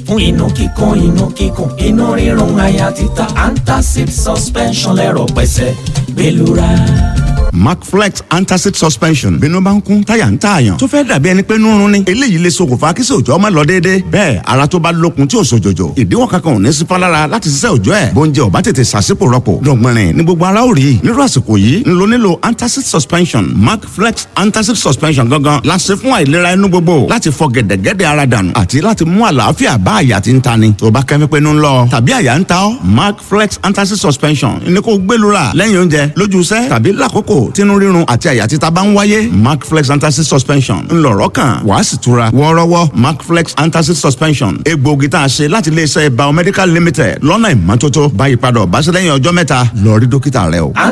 Fún inú kíkan, inú kíkùn, inú rírun, àyà títa, Antacid suspension lẹ́rọ̀ pẹ̀sẹ̀ gbẹlura. Macflex Antacid Suspension. Bínú bá ń kún, táyà ń tààyàn tó fẹ́ dàbí ẹni pé nírun ni, eléyìí lè ṣokùnfà kí sòjọ́ má lọ déédéé. Bẹ́ẹ̀ ara tó bá lókun tí ò sòjòjò, ìdíwọ́ kankan ò ní sí fálára láti ṣiṣẹ́ òjọ́ ẹ̀. Bóúnjẹ ò bá tètè ṣàṣìpò rọpò dọ̀gbìnrin ní gbogbo ara ò rí. Nírú àsìkò yìí ń lo nílò Antacid Suspension. Macflex Antacid Suspension gangan la ṣe fún àìlera inú gbogbo, láti fọ gẹ̀dẹ̀gẹ̀dẹ̀ ara dànù àti láti mú àlàáfíà bá àyà tí ń tani. Tó bá kẹ́mi pé ń lọ tàbí àyà ń ta ọ́, Macflex Antacid Suspension ní kó gbẹlura lẹ́yìn oúnjẹ, lójú iṣẹ́ tàbí lákòókò tínú rírun àti àyà títa bá ń wáyé. Macflex Antacid Suspension ńlọrọ kan, wàá sì tura wọ́ọ́rọ́wọ́. Macflex Antacid Suspension, egbòogi tá a ṣe láti iléeṣẹ́ Biomedical Limited lọ́nà ìmọ́tótó. Báyìí padà ọ̀báṣẹ́ lẹ́yìn ọjọ́ 3, lọ rí dókítà rẹ o.